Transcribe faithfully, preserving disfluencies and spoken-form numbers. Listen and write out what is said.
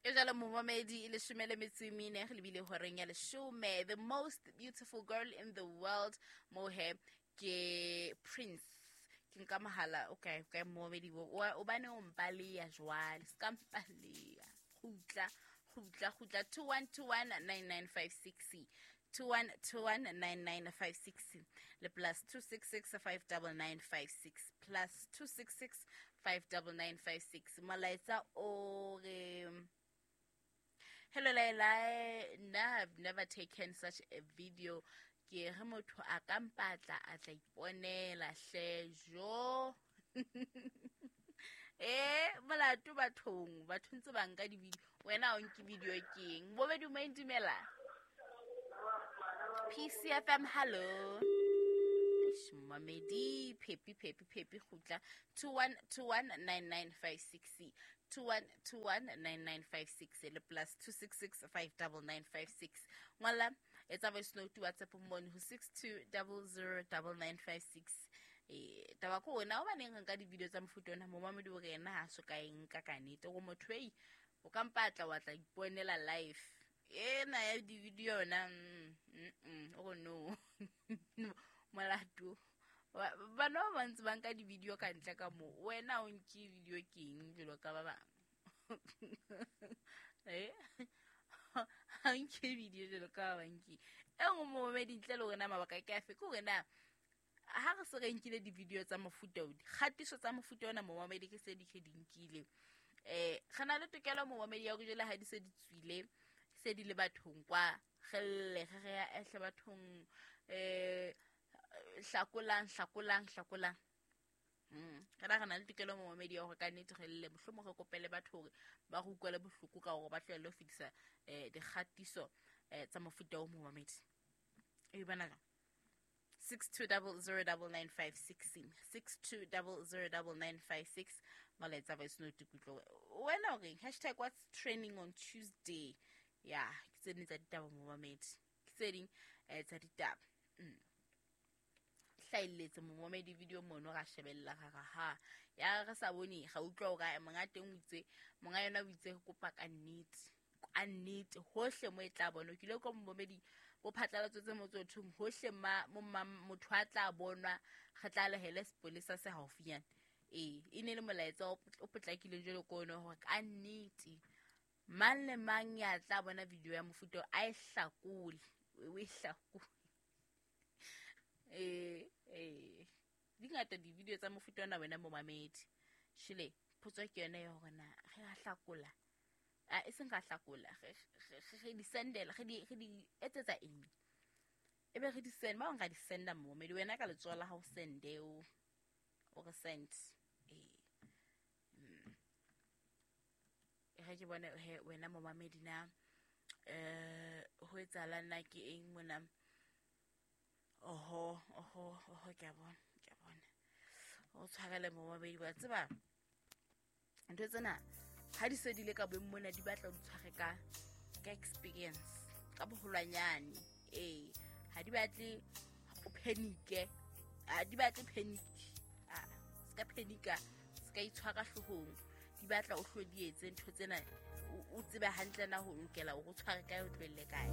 Ke jalo momamedi, e leshome le metso e mene re lebile horeng ya leshome. The most beautiful girl in the world mo he ke Prince. Ke nka mohala. Okay, okay, momamedi, o bane o mpaleya jwale, se ka mpaleya. Kgutla, kgutla, kgutla. Two one two one nine nine five six, two one two one nine nine five six le plus two six six five nine nine five six, plus two six six five nine nine five six. Molaetsa o re, "Hello Laila, nna I've never taken such a video. Ke re motho a ka mpatla a tla iponela hle." Jo, eh molato bathong, batho ntse ba nka di-video, wena o nke video keng? Bobedi mo dumela. P C F M, hello. Eish, mamedi, phepi, phepi, phepi, kgutla. two one two one nine nine five six, two one two one nine nine five six le plus two six six five nine nine five six. Ngwala, etsa voice note, WhatsApp mone ho six two zero zero nine nine five six. Eh taba ko wena o baneng re nka di-video tsa mofuta ona? Momamedi o re ena ha so ka e nka ka nnete, gore motho ei o ka mpatla wa tla iponela live ena ya di-video yona. mm, mm, mm, o re no molato. Ba- bana ba bantse ba nka di-video ka ntle ka mo, wena o nke video keng jalo ka ba bangwe? Eh ha nke video jalo ka ba bang ke e nngwe. Momamedi, ntle le hore na mabaka ke afe, ke hore na ha re se re nkile di-video tsa mofuta o, dikgatiso tsa mofuta ona, momamedi, ke se di ke di nkile, um re na le tokelo, momamedi, ya hore jwale ha di se di tswile, se di le bathong kwa, re lle, re re ya ehle bathong, um hlakolang, hlakolang, hlakolang. Mm. re na re na le tokelo, momamedi, ya hore ka nnete re lle, mohlomong re kopele batho hore ba re utlwele bohloko ka hore ba tlohelle ho fetisa um dikgatiso um tsa mofuta o, momamedi. E bona jwang? six two zero zero nine nine five six, six two zero zero nine nine five six, molaetsa voice note kutlo wena o reng? Hashtag what's trending on Tuesday. Ya, ke tse ding tsa ditaba, momamedi, ke tse ding um tsa ditaba. mm. hlahelletse momamedi video mono, ra shebella, ra ra ha ya re sa bone, ga utlwa hore monga teng o itse, monga yona o itse re kopa ka nnete, ka nnete, hohle mo e tla bona. Ke ile ko momamedi bo phatlalatso tse mo tse thong hohle ma mo ma motho a tla bonwa, re tla lehele sepolesa se haufinyane. Ee, e ne le molaetsa o o potlakileng jwalo ko ona hore ka nnete mang le mang ya tla bona video ya mofuta o, a e hlakole, o e hlakole. eh eh di ngata di-video tsa mofuta ona, wena momamedi. Shile potso ke yone ya hore na re a hlakola, a e seng ra hlakola, re re- re di sendela, re di re di etsetsa eng? Ebe re di send, ba bang ra di senda, momamedi. Wena ka letsoho la hao sende, o o re send. Ee, Mm. e re ke bone he wena momamedi na eh ho etsahalang, na ke eng mona? Oho, oho, oho, ke a bona, ke a bona. O tshwarele, momamedi, wa tseba ntho tsena ha di se di le ka beng mona, di batla o di tshware ka ka experience, ka boholwanyane. Ee, ha di batle o panic-e, ha di batle panic, ah, se ka panic-a, se ka itshwara hloohong. Di batla o hlo di etse ntho tsena, o- o tsebe hantle na ho lokela hore o tshware kae, o tlohelle kae.